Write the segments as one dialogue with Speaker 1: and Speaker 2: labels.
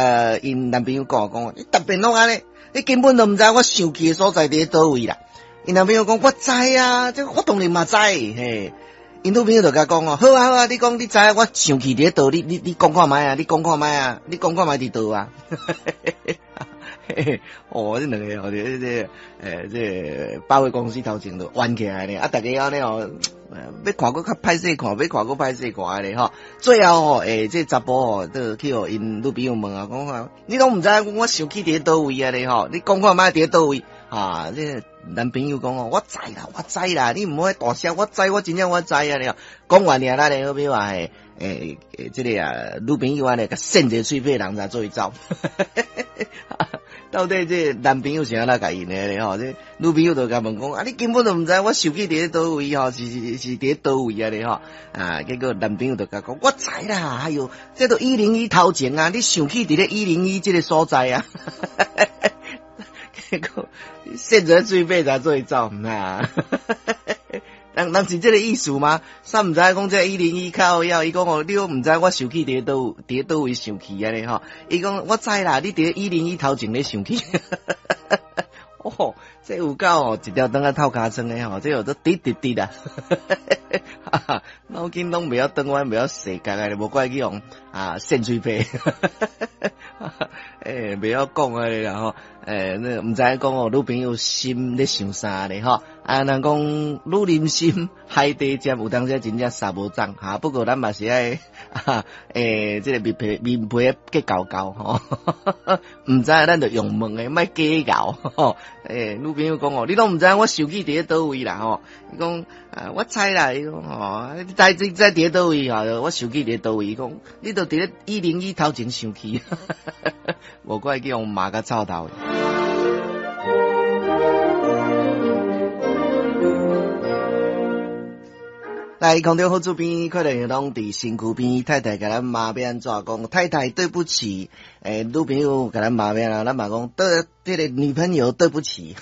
Speaker 1: 𪜶男朋友講講，你逐遍攏按呢，你根本都毋知我生氣的所在佇咧佗位啦。𪜶男朋友講我知啊，這我當然嘛知，嘿。𪜶女朋友就共講哦，好啊好啊，你講你知我生氣佇咧佗，你你你講看覓啊，你講看覓啊，你講看覓佇佗啊。哦，這兩个哦，這這欸，這百貨公司頭前就冤起來咧，啊，逐家按呢哦，欲看閣較歹勢看，欲看閣歹勢看咧吼。最後吼，欸，這查埔吼，就去予𪜶女朋友問啊，講啊，你攏毋知我生氣佇咧佗位啊咧吼，你講看覓佇咧佗位啊？這男朋友講哦，我知啦，我知啦，你毋好大聲，我知，我真正我知啊咧。講完爾，咱的好比話，欸欸，這个啊女朋友按呢，共扇一个喙䫌，人才做伙走。到底這男朋友是按怎共𪜶的咧吼？這女朋友就共問講啊，你根本就毋知我生氣佇咧佗位吼，是是是佇咧佗位啊咧吼？啊，結果男朋友就共講，我知啦，哎喲，這都101頭前啊，你生氣佇咧一零一這个所在啊。結果扇一个喙䫌才做伙走，啊。人人是這个意思嗎？啥毋知講這101靠腰，伊講哦，你攏毋知我生氣佇咧佗，佇咧佗位生氣按呢吼？伊講我知啦，你佇咧一零一頭前咧生氣。哦，這有夠哦，一條腸仔透尻川的吼，這有都直直直啦。腦筋攏袂曉轉彎，袂曉踅角的，無怪去予啊扇喙䫌。欸，袂曉講按呢啦吼。欸，那毋知影講哦，女朋友心咧想啥咧吼？啊，人講女人心海底針，有當時真正捎無鬃哈。不過咱嘛是愛，欸，這个面皮面皮結厚厚吼。毋知咱就用問的，莫假𠢕吼。欸，女朋友講哦，你攏毋知我生氣佇咧佗位啦吼。伊講啊，我知啦，伊講吼，你知你知佇咧佗位吼？我生氣佇咧佗位？伊講你就佇咧101頭前生氣，無怪去予罵甲臭頭。來，空中好主編，快樂攏佇身軀邊，太太共咱罵欲按怎講？太太對不起，欸，女朋友共咱罵欲按怎，咱嘛講對這个女朋友對不起。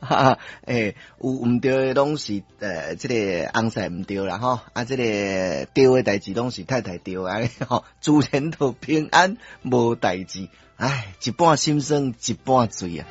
Speaker 1: 哈，欸，有毋對的攏是這个翁婿毋對啦吼，啊，這个對的代誌攏是太太對按呢吼，自然就平安無代誌。唉，一半心酸一半醉啊。